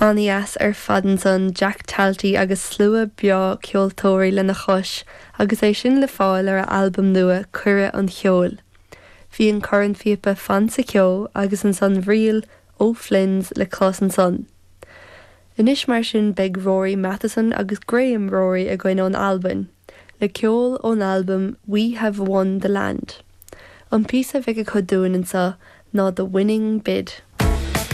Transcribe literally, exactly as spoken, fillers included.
An-deas ar fad ansan Jack Talty agus slua breá ceoltóirí lena chois agus é sin le fáil ar a albam nua Cuireadh an Cheoil. Bhí an cornphíopa Fan sa Cheo agus ansan ríl O'Flynn's le clos ansan. Anois mar sin beidh Rory Matheson agus Graham Rory againn ón Albain, le ceol ón albam We Have Won the Land. An píosa a bheidh acu dúinn anseo ná The Winning Bid.